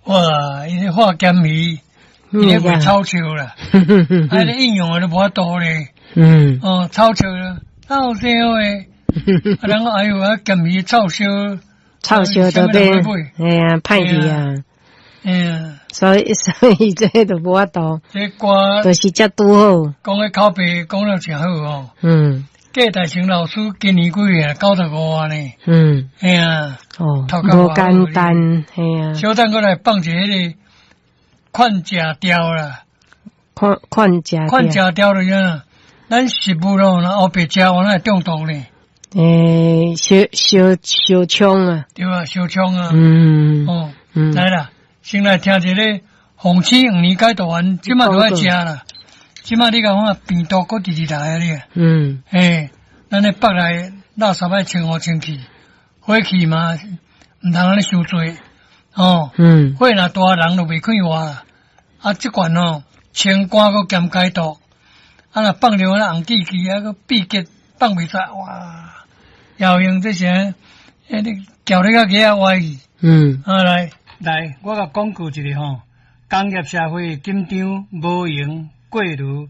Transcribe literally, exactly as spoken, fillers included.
哇！伊咧化鹹魚，伊咧賣臭笑啦，啊！咧應用的都無法度咧。嗯。哦，臭笑啦，臭笑的，啊！人講哎喲，啊鹹魚臭燒，臭燒都變，哎呀，歹去啊！嗯，所以所以這都無法度。這歌就是這拄好。講的口碑講得誠好哦。嗯。郭大成老師今年幾歲啊？九十五啊呢。嗯。嘿啊。哦，無簡單，嘿啊。小等閣來放一个彼個勸食調啦。勸勸食。勸食調就是啥？咱食物咯，若烏白食，我哪會中毒呢？欸，燒燒燒創啊。對啊，燒創啊。嗯。哦，來啦，先來聽一个鳳棲黃連解毒丸，這馬都愛食啦。這馬你共看病毒閣直直來啊你。嗯。嘿，咱咧腹內垃圾愛清好清氣，火氣嘛毋通按呢傷濟，哦。嗯。火若大，人就袂快活啦。啊，這罐吼清肝閣兼解毒，啊若放著那紅記記啊，閣秘結放袂出來，哇！有用這些，欸，你嚼咧較額仔歪去。嗯。啊來來，我共廣告一下吼，工業社會緊張，無閒過濾。